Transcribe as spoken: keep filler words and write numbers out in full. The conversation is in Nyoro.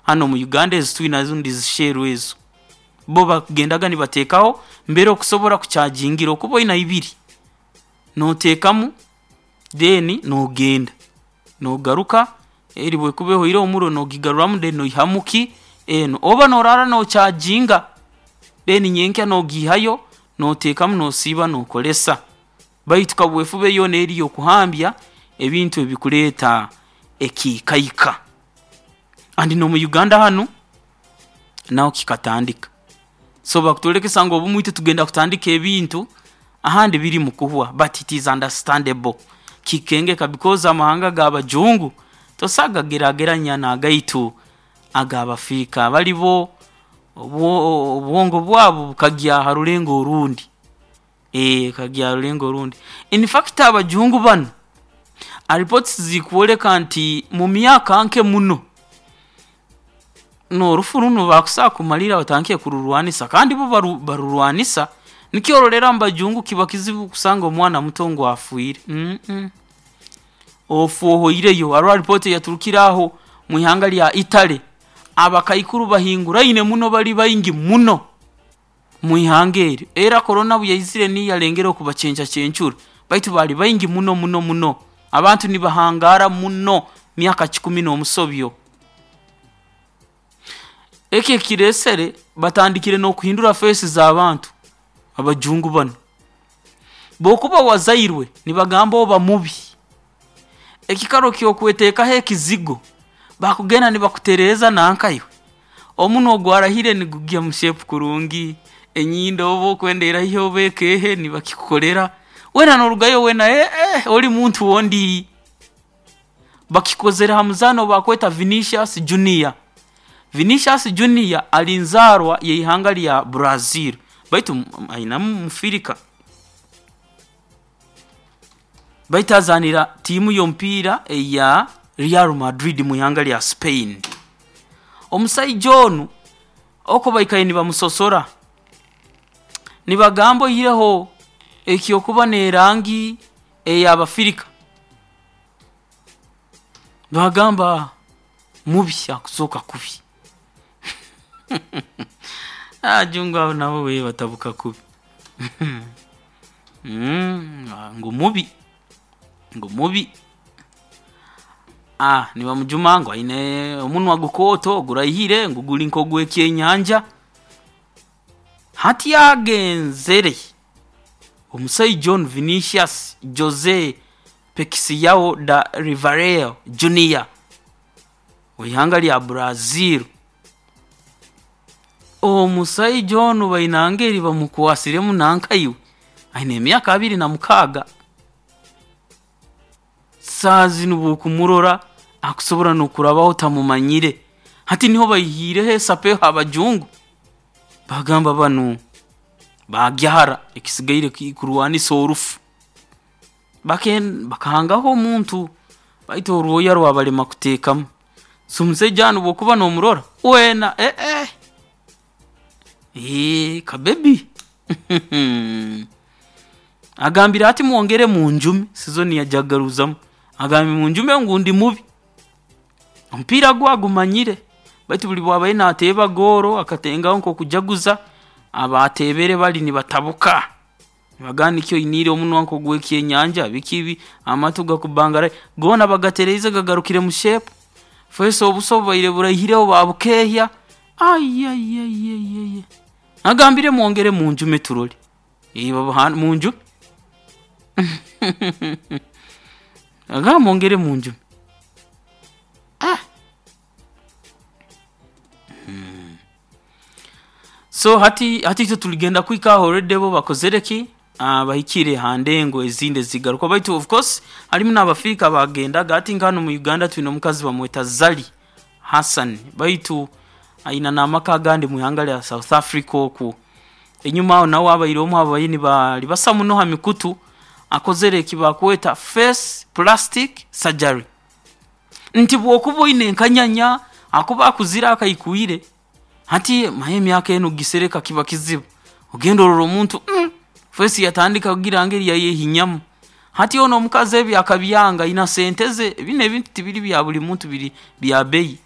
Hano mu Uganda ezi twinazo ndizisheru ezo bo bakugendaga nibateekaho mbere okusobora kuchargingira okuba oina ibiri, noteekamu, then nogenda nogaruka, eri bwekuba ehwaire omuuro nogigaruramu, then noihamu ki enu, oba noraara nocharginga, then nyenkya nogiihayo noteekamu nosiiba nokolesa. Baitu kaweefube yoona eri ey'okuhambya ebintu ebikureeta ekiikaika. And n'omu Uganda hanu naho kikatandika, so bakutwolekesa ngu obumwe itwe tugenda kutandika ebintu ahandi biri mukuhwa, but it is understandable, kikengeka because amahanga g'abajungu toso kugagerageranya n'agaitu ag'Abafirika. Bali bo obwo obwongo bwabu bukagya ha rulengo orundi, bukagya ha rulengo orundi. In fact abajungu banu, reports zikwoleka nti mu myaka nke muno, n'orufu runu bakuso kumalirra batandike kururwanisa, kandi bo baru barurwanisa. Nikyo orolera mubajungu kiba kizibu kusanga omwana muto ngu afiire, uuh ofa ohoireyo. Haroho report eyaturukire aho mwihanga lya Italy, abakaikuru bahinguraine muno bali baingi muno mwihanga eri. Era Corona obu yaizire niyo yalengereho kubacencacencura baitu baali baingi muno muno muno, abantu nibahangaara muno myaka kikumi n'omusobyo. Eki ekireesere batandikire n'okuhindura face z'abantu abajungu banu. Obu okuba wazairwe nibagamba oba mubi, ekiikaro ky'okweteekaho ekizigo, bakugenda nibakutereeza nanka iwe, omunwa ogwaraihire nigugya mu shape kurungi, enyindo oba okwenda eraihe oba ekeehe nibakikukolera, weena norugayo weena eeh eeh oli muntu ondi. Bakikozere ha muzaani ou bakweta Vinicius Junior. Vinicius Junior ali nzaarwa y'ihanga lya Brazil baitu ainamu Mufirika, baitu azaanira tiimu y'omupiira eya Real Madrid mwihanga lya Spain. Omusaija onu oku baikaire nibamusosora, nibagamba oihireho eky'okuba n'erangi ey'Abafirika, nibagamba mubi, akuzooka kubi. Abajungu abo nabo we batabuka kubi ngu mubi, ngu mubi, nibamujuma ngu aine omunwa gukooto guraihire ngu guri nk'ogw'ekyenyanja. Hati agenzere omusaija onu Vinicius Jose Pekisyao da Rivareo Junior ow'ihanga lya Brazil, omusaija onu baina engeri bamukwasiremu nanka iwe, aine emyaka abiri na mukaaga, saaha zinu obu okumurora akusobora n'okurabaho otamumanyire. Hati niho baihiireho esapeho abajungu baagamba banu baagya hara, ekisigaire kurwanisa orufu. Bake bakahangaho omuntu baitu orwoya rwabalema kuteekamu, so omusaija onu obu okuba noomurora, weena eeh eeh eeh ka baby agambire ati mwongere munjume, sizoni yajagaruzamu, agambire munjume ngu ndi mubi, omupiira gwe agumanyire baitu buli obu abaire naateeba gooro akatengaho nk'okujaguza, abaateebere bali nibatabuka, nibagamba nikyo oiniire omunwa nk'ogw'ekyenyanja biki bi, amatu gakubangaraire, goona bagatereize gagarukire mu shape, face obuso obubaire buraihireho baabukeehya, aiiaiaiai agambire mwongere munjume turole, munjume nagamba mwongere munjume. So hati hati itwe tuligenda kuhika aho already bo bakozere ki, bahikire ha ndengo ezindi ezigaruka baitu of course harimu n'Abafirika abaagendaga. Hati nka hanu omu Uganda twine omukazi bamweta Zari Hassan baitu aina n'amaka agandi mwihanga lya South Africa oku. Enyuma aho nawe abaire omu habaire nibaribasa muno ha mikutu, akozere eki bakweta face plastic surgery, nti obu okuba oine enkanyanya ahakuba akuzire akaikwire, hati manya emyaka enu kugisereka kiba kizibu, ogenda orora omuntu face yatandika kugira ngeri yayehinyamu. Hati onu omukazi ebi akabyanga aina sente ze, binu ebintu tibiri bya buli muntu biri bya bbeeyi.